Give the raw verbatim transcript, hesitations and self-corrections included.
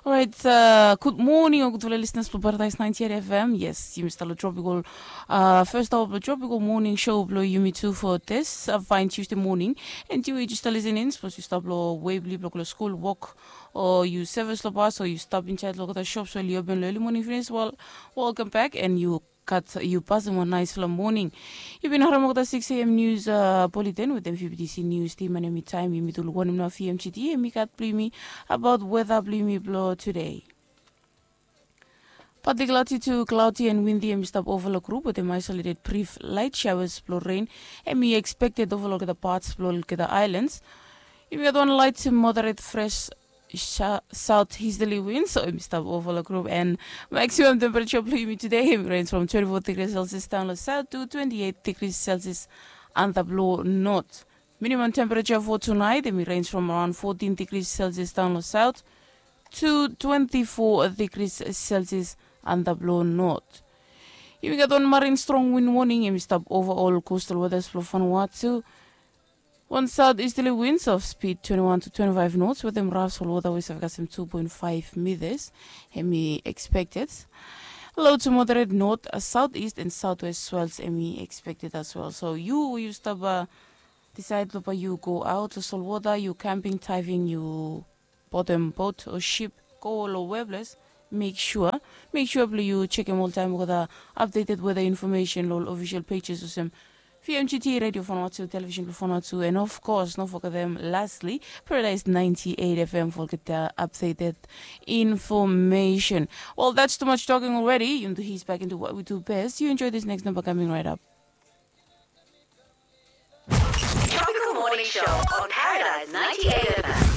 Orait, gud moning o gudfala listeners blong Paradise ninety-eight F M. Yes, yumi stap long tropical, first hour blong tropical morning show blong yumi tu for this fine Tuesday morning. And yu we yu stap listening, sapos yu stap long way blong yu blong go long skul, wok, o yu sevis long bas, o yu stap insaed long olgeta shops we oli open long early morning finis, wel, welcome back, and yu gat yu pasem wan naesfala moning. Yu bin harem olgeta six a.m. news bulletin wetem V B T C news team, and emi taem yumi tu luk wanem nao V M G T emi gat blong yumi abaot weta blong yumi blong tude. Partly cloudy to cloudy and windy emi stap ova long grup wetem isolated brief light showers blong rain emi expected ova long olgeta parts blong olgeta islands. Yumi gat wan light to moderate fresh southeasterly winds, so yumi stap ova long grup, and maximum temperature blong yumi today emi range from twenty-four degrees Celsius down long south to twenty-eight degrees Celsius antap long north. Minimum temperature for tonight emi range from around fourteen degrees Celsius down long south to twenty-four degrees Celsius antap long north. Yumi gat wan marine strong wind warning emi stap ova ol coastal waters blong Vanuatu. Wan southeasterly winds of speed twenty-one to twenty-five knots wetem raf solwota we save kasem two point five meters emi expected. Low to moderate north, southeast and southwest swells emi expected as well. So yu we yu stap disaed blong bae yu go aot long solwota, yu camping, diving, yu botem bot o sip, go long weples, mek sua mek sua blong yu jekem oltaem olgeta updated weather information long ol official pages olsem V M G T Radio Vanuatu, Television blong Vanuatu, and of course, no fogetem lastly, Paradise ninety-eight F M for olgeta updated information. Well, that's too much talking already. Yumi tu ease back into what we do best. You enjoy this next number coming right up. Tropical Morning Show on Paradise ninety-eight F M.